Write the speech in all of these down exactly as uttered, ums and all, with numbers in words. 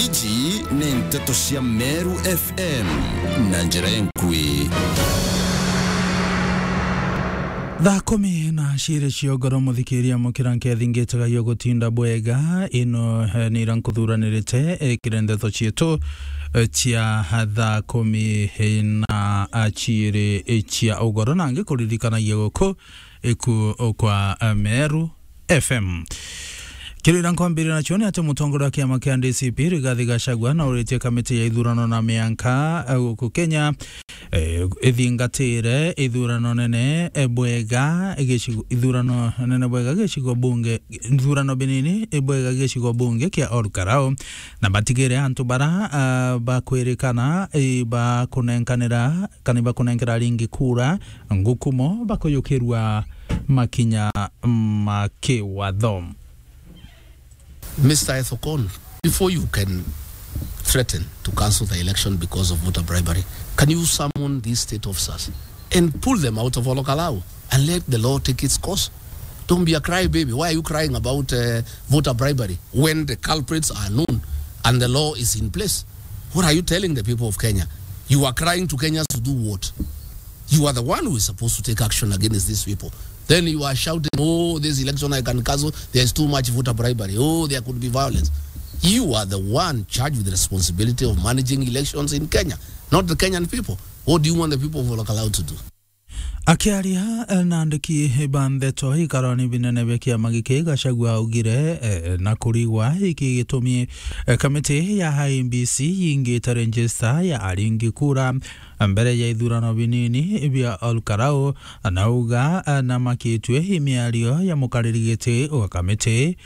Iji ni nteto cia Meru F M na njira enkui. Thaa kumi na ciiri cia ugoro, muthikiria mukira nkethi ngitaga yo gutinda bwega. Ino, eh, ni ira nkuthuranirite, eh, kiri nteto cietu, eh, cia thaa kumi na ciiri cia ugoro, na ngikuririkanagia guku iku kwa, eh, Meru F M. Kirira nkwambirira nacio ni ati mutongoria wa kiama kia D C P Rigathi Gachagua nauritie kamiti ya ithurano na mianka, eh, guku Kenya, eh, ithingatire ithurano nene, eh, bwega gicigo, ithurano nene bwega gicigo bunge, ithurano binini, eh, bwega gicigo bunge kia Ol Kalou, na batigire antu bara, ah, bakwirikana, eh, bakunenkanira kana ibakunenkera ringi kura, ngukumo bakuyukirua makinya ma kiwatho. Mister Ethekon, before you can threaten to cancel the election because of voter bribery, can you summon these state officers and pull them out of Ol Kalou and let the law take its course? Don't be a crybaby. Why are you crying about, uh, voter bribery when the culprits are known and the law is in place? What are you telling the people of Kenya? You are crying to Kenyans to do what? You are the one who is supposed to take action against these people. Then you are shouting, "Oh, this election I can cancel. There's too much voter bribery. Oh, there could be violence." You are the one charged with the responsibility of managing elections in Kenya, not the Kenyan people. What do you want the people of Ol Kalou to do? Akiaria, eh, na andiki ba ndeto ikaroni binene bia kiama giki, Gachagua augire, eh, na kurigwa iki gitumi, eh, kamiti ya I E B C yingite register ya aringi kura mbere ya ithurano binini bia Ol Kalou, na auga, eh, na makitue i miario ya mukariri giti wa kamiti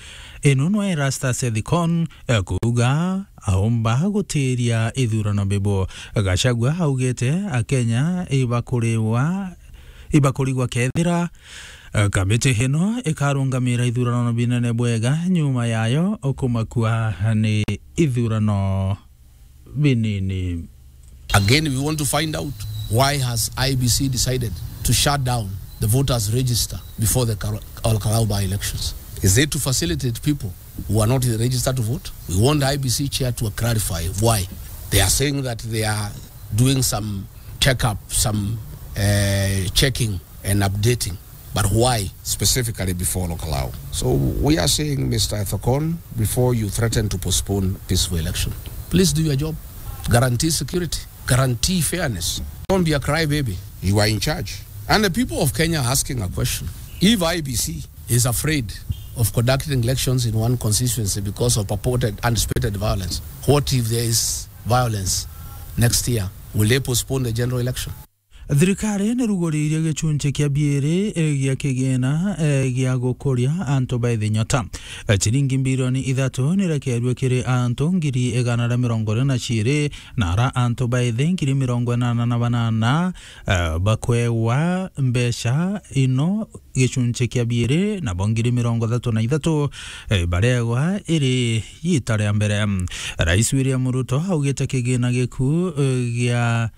ino nwe Erastus Ethekon, eh, kuuga aumba gutiria ithurano bibu. Gachagua augite Akenya ibakuriwa, ibakurigwa kethira, eh, kamiti ino ikarungamira ithurano binene bwega, nyuma yayo ukumakua ni ithurano binini. Again, we want to find out why has I E B C decided to shut down the voters register before the Kar-, Ol Kalou by-elections. Is it to facilitate people who are not registered to vote? We want I E B C chair to clarify why. They are saying that they are doing some checkup, some, uh, checking and updating. But why specifically before Ol Kalou? So we are saying, Mister Ethekon, before you threaten to postpone peaceful election, please do your job. Guarantee security. Guarantee fairness. Don't be a crybaby. You are in charge. And the people of Kenya are asking a question. If I E B C is afraid of conducting elections in one constituency because of purported anticipated violence, what if there is violence next year? Will they postpone the general election? Thirikari niruguriirie gicunci kia biiri, eh, gia kigina, eh, gia gukuria antu ba ithi nyota. Eh, ciringi mbirioni ithatu nirekerue kiri antu ngiri igana ria mirongo iri na ciiri, na ara antu ba ithi ngiri mirongo inana na banana, eh, bakwewa mbeca ino gicunci kia biiri, nabo ngiri mirongo ithatu na ithatu, eh, baregwa iri iita ria mbere. Rais William Ruto augite kigina giku, eh, gia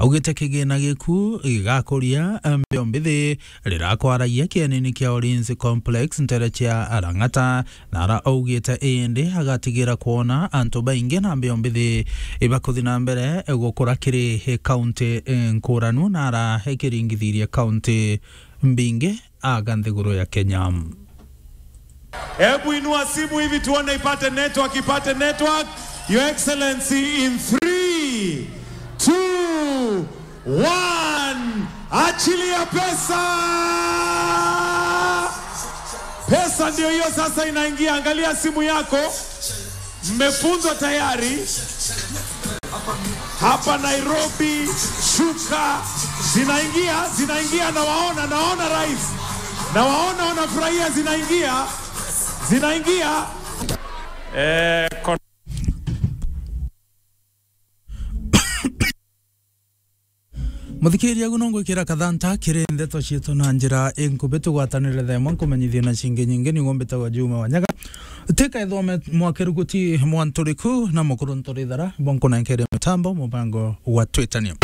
Augite kigina giku gigakuria mbeo mbithi rirakwaragia kienini kia Ulinzi Complex ntere cia Lang'ata, na ara augite indi agatigira kwona antu baingi na mbeo mbithi ibakuthi na mbere gukura kiri kaunti nkuranu, na ara ikiringithirie kaunti mbingi aga nthiguru ya Kenya. Hebu inua simu hivi tuone ipate network, ipate network. Your Excellency, in three, two, one. Achilia pesa. Pesa ndio hiyo sasa inaingia. Angalia simu yako. Mmefunzwa tayari. Hapa Nairobi, shuka. Zinaingia, zinaingia, nawaona, naona rais. Nawaona wanafurahia, zinaingia. Zinaingia. Eh, kon- Muthikiria, ugu no ngwikira kathanta kiri ndeto cietu na njira inkubi. Tugwatanire thaa imwe nkumenyithie na cingi nyingi. Niguo mbitagwa Juma Wanyaga. Tika ithome mwakiruguti mwanturiku na mukuru nturithara, bo nkunenkere mitambo, mubango wa twitania.